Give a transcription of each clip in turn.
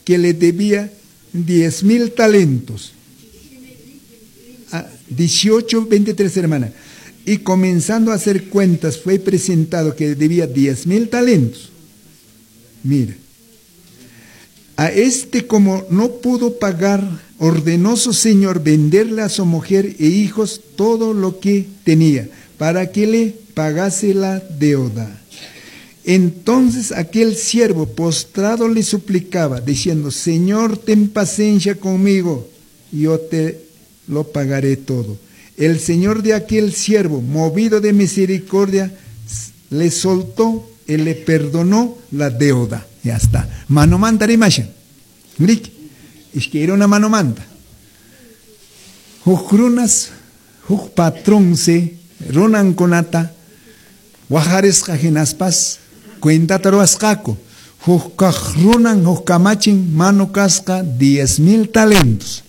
que le debía 10,000 talentos. 18, 23, hermana. Y comenzando a hacer cuentas, fue presentado que debía 10,000 talentos. Mira, a este, como no pudo pagar, ordenó su señor venderle a su mujer e hijos todo lo que tenía, para que le pagase la deuda. Entonces aquel siervo postrado le suplicaba, diciendo: Señor, ten paciencia conmigo, yo te lo pagaré todo. El señor de aquel siervo, movido de misericordia, le soltó y le perdonó la deuda. Ya está. Manomanta rimashan. Riki. Ishkay runa manomanta. Huk runas, huk patronsi runankunata wajarisqa hinaspas cuentata ruwasqaku. Huk kaq runan, huk kamachin manu kasqa 10,000 talentos.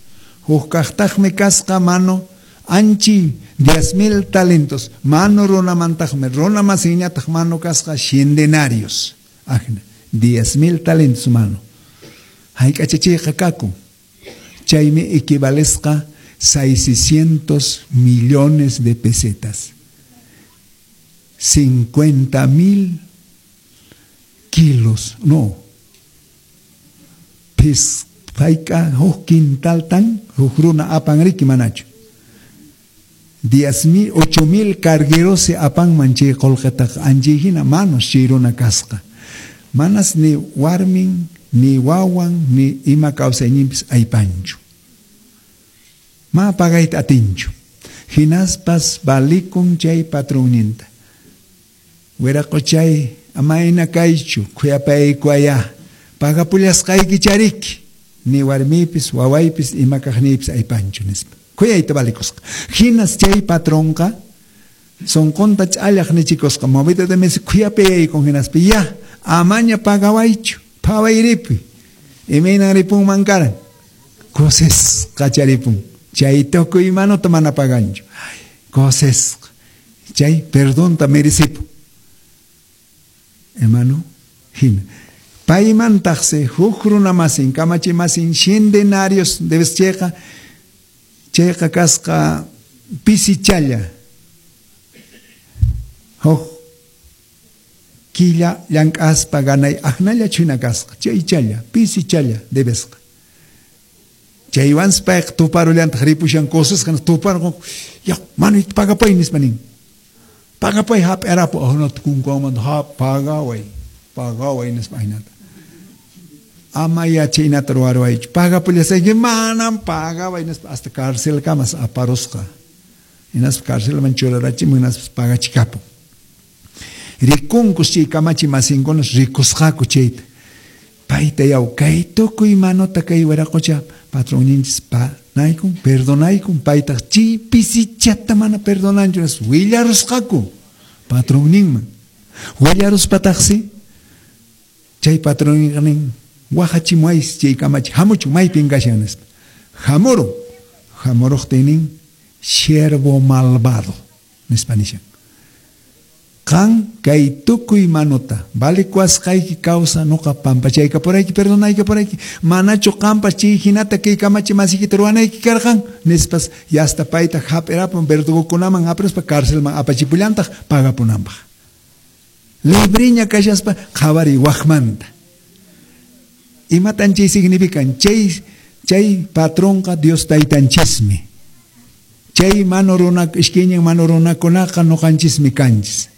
Huk kaqtaqmi kasqa manu anchi 10,000 talentos. Manu runamantaqmi, runa masinñataq manu kasqa 100 denarios. Ajna, 10,000 talentos manu. Hayk'acha chayqa kakun. Chaymi equivalesqa 600 millones de pesetas. 50,000 kilos, no. Pis, payqa huk quintal tan, huk runa apan riki manachu. 10,000, 8,000 cargueros se apanman chay qullqitaqa anchay hina manos chay runa kasqa. Manas ni warmin, ni wawan, ni ima kawsayninpis aypanchu. Ma pagayta atinchu. Hinaspas balikun chay patronninta. Wiraqochay, amayna kaychu, khuyapaykuaya, pagapullasqayki chariki, ni warmipis, wawaypis, ima kaqniypis aypanchu nispa. Khuyayta balikusqa. Hinas chay patronqa sunqunta ch'allaq nichikusqa, movido de mes khuyapayaykun hinaspa, ya, amaña pagawaychu, phawayripuy. Imaynan ripunman karan? Kusisqa charipun. Chay tukuy manuta mana paganchu. Kusisqa. Chay perdonta merecipun. Hermano, hina. Paymantaqsi huk runa masin, kamachi masin, 100 denarios debes chayqa, chayqa kasqa pisichalla. Huk killa llank'aspa ganay aknalla chuna kasqa, chaychalla, pisichalla debesqa. Chaywansi payqa tuparullantaq ripushan kusisqa tuparqun, ya, manuyta pagapay nispa nin. Pagapay hap'irapu, ahnata kunkanmanta ha pagaway, pagaway nispa ahinata. Ama yachaynata ruwaruwaychu, pagapullasayki manam pagaway nispa hasta cárcelkamas aparusqa. Hinaspa cárcelman churarachimun, hinaspa pagachikapun. Rikunkus chay kamachi masinkunas rikusqaku chayta. Payta yaw, kay tukuy manuta kay wiraqocha patronninchis panaykun, perdonaykun, paytaq chay pisichata mana perdonanchu, willarusqaku patronninman. Willaruspataqsi chay patronninqa nin, wajachimuwaysi chay kamachi, hamuchun maypin kashan nispa. Hamurun, hamuruqtin nin, siervo malvado nispa nishan. Qan kay tukuy manuta, valikuasqayki kawsa nuqa pampachaykapurayki, perdonaykapurayki, manachu qampas chay hinata kay kamachi masikita ruwanayki karqan, nispas yasta payta hap'irapun verdugokunaman hap'iraspa cárcelman apachipullantaq pagapunanpaq. Libriña kashaspa qhawariy waqmanta. Imatan chay significan? Chay patronqa Dios taytanchismi. Chay manu runa, ishkaynin manu runakunaqa nuqanchismi kanchis.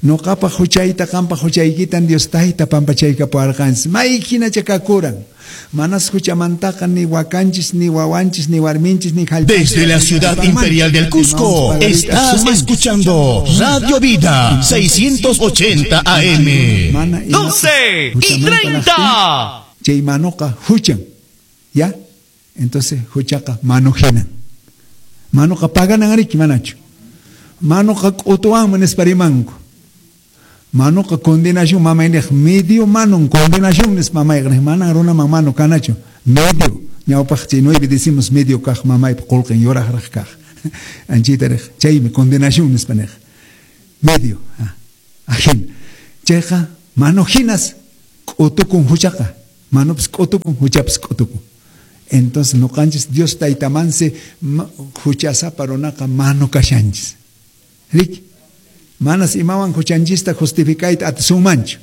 Nuqapaq huchayta, qampaq huchaykitan Dios tayta pampachaykapuwarqanchis. May hinacha kakuran. Manas huchamantaqa ni wakanchis, ni wawanchis, ni warminchis, ni jallp'anchis. Desde la ciudad imperial del Cusco, estás escuchando Radio Vida 680 AM. 12:30. Chay manuqa huchan. ¿Ya? Entonces huchaqa manujinan. Manuqa paganan riki manachu. Manuqa k'utuwanmi nispa rimanku. Manuqa condenación mamayniq medio manun condenación nispa mamayqa niq manan runaman manu kanachu medio ñawpaq chay 9 decimos medio kaq mamaypa qullqin yuraqraq kaq anchita riq chaymi condenación nispa niq medio ajin chayqa manu hinas k'utukun huchaqa Manupis k'utukun, huchapis k'utukun. Entonces nuqanchis Dios taytamansi huchasapa runaqa manu kashanchis. Riki? Manas imawan huchanchista justificayta atisunmanchu.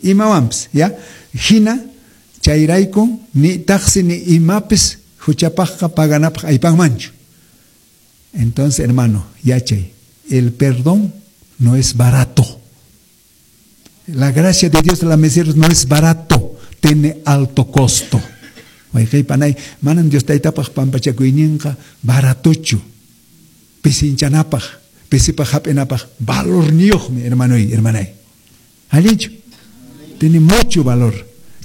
Imawanpis, ya? Hina chayrayku ni taqsi ni imapis huchapaqqa paganapaq aypanmanchu. Entonces, hermano, yachay, el perdón no es barato. La gracia de Dios de la misericordia no es barato, tiene alto costo. Wayqey panay, manan Dios taytapaq pampachakuyninqa baratochu. Pisinchanapaq, pisipaq hap'inapaq valorniyuqmi, hermanoy, hermanay. Allinchu? Tiene mucho valor.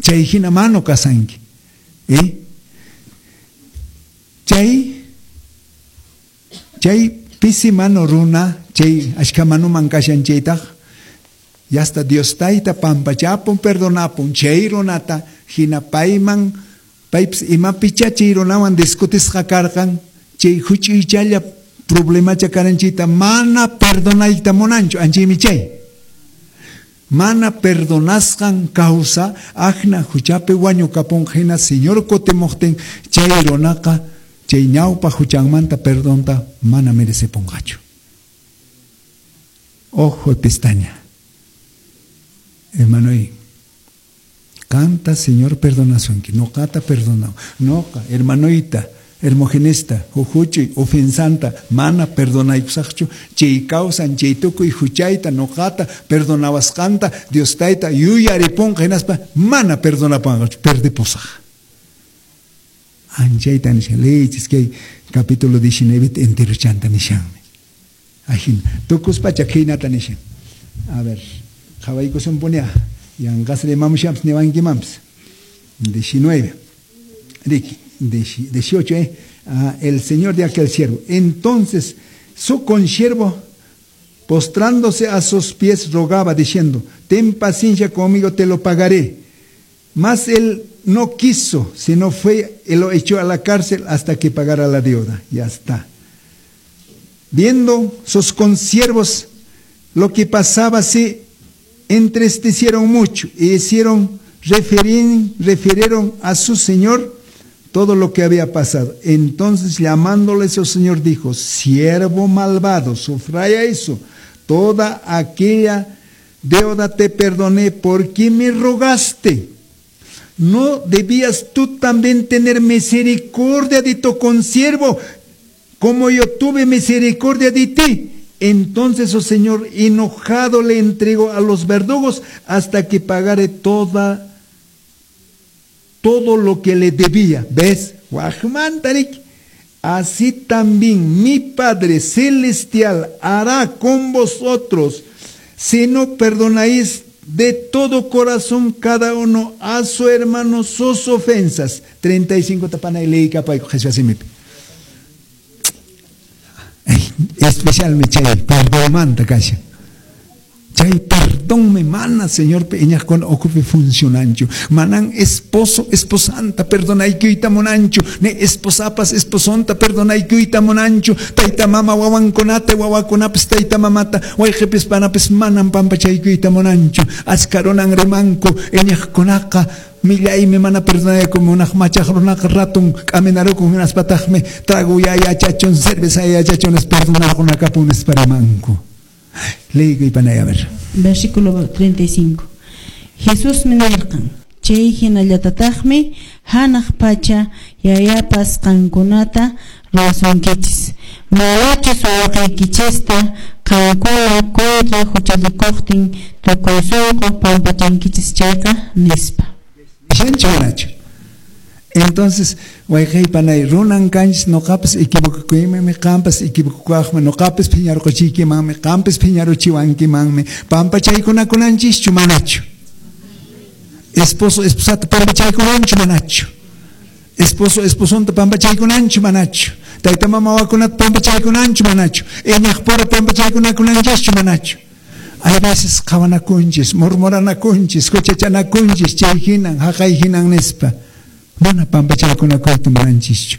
Chay hina mano kasanki. ¿Eh? Chay pisi mano runa, chay ashka manuman kashan chaytaq, yasta Dios tayta pampachapun, perdonapun, chay runata, hina payman, paypis imapicha chay runawan discutisqa karqan, chay huch'uychalla problemacha karan chayta mana perdonayta munanchu, anchaymi chay. Mana perdonasqan causa, ajna huchapi wañukapun hina Señor kutimuqtin, chay runaqa, chay ñawpa huchanmanta perdonta mana merecepunqachu. Ojo pestaña. Hermanoy, canta Señor perdonasunki, noqata perdonao, noqa, hermanoita, hermogenista, hujuchi, ofensanta, mana perdonaykusaqchu, chay kawsan, chay tukuy huchayta, noqata, perdonawasqanta, Dios tayta, yuyaripunqa hinaspa, mana perdonapanqachu, perdipusaq. Anchayta nishan, leychis kay capítulo 19 enterochanta nishanmi. Ajin, tukuspacha khaynata nishan. A ver, qhawaykusunpunia, yanqas rimamushanpis niwankimanpis. 19, Riki, 18, el señor de aquel siervo. Entonces su consiervo, postrándose a sus pies, rogaba, diciendo: ten paciencia conmigo, te lo pagaré. Mas él no quiso, sino fue y lo echó a la cárcel hasta que pagara la deuda. Ya está. Viendo sus consiervos lo que pasaba, se entristecieron mucho y refirieron a su señor todo lo que había pasado. Entonces, llamándole su señor, dijo: siervo malvado, sufraya eso, toda aquella deuda te perdoné porque me rogaste. ¿No debías tú también tener misericordia de tu consiervo, como yo tuve misericordia de ti? Entonces su señor, enojado, le entregó a los verdugos hasta que pagare todo lo que le debía. ¿Ves? Así también mi Padre Celestial hará con vosotros, si no perdonáis de todo corazón cada uno a su hermano sus ofensas. 35 tapana y leí capa y Jesús así me. Especialmente chay perdón kasha. Chay perdón me mana Señor peña con ocupe funcionancho. Manan esposo esposanta perdonaykuyta munanchu. Ne esposapas esposonta perdonaykuyta munanchu. Tayta mama wawankunata wawakunapis tayta mamata wayqipis panapis manan pampachaykuyta munanchu. Achkarunan rimanku iñaqkunaqa millaymi mana perdonayku munaq machaq runaqa ratun k'aminarukun hinaspataqmi trago yachachun cerveza yachachun perdonarqunakapun nispa rimanku. Leí panay, a ver. Versículo 35. Jesús nirqan, chay hinallatataqmi hanaq pacha yayapas qankunata ruwasunkichis. Manachus wawqiykichista qankuna contra huchallikuqtin tukuy sunqu pampachankichis chayqa nispa. Entonces, wayqey panay, runan kanchis noqapas equivocakuymanmi, qampas equivocakuymanmi, noqapas phiñarquchiykimanmi, qampas phiñaruchiwankimanmi, pampachaykunakunanchischu manachu? Esposo esposata pampachaykunanchu manachu? Esposo esposonta pampachaykunanchu manachu? Tayta mama wawakunata pampachaykunanchu manachu? Iñaqpura pampachaykunakunanchischu manachu? Hay veces qhawanakunchis, murmuranakunchis, huchachanakunchis, chay hinan, haqay hinan nispa. Mana pampachaykunakuyta munanchischu.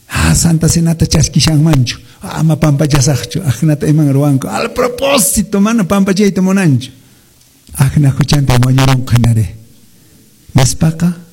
Ah, Santa Cenata chaskishanmanchu. Ama pampachasaqchu. Ajnata iman ruwanku. Al propósito, mana pampachayta munanchu. Ajna huchanta wañurunqa hinare. Nispaqa.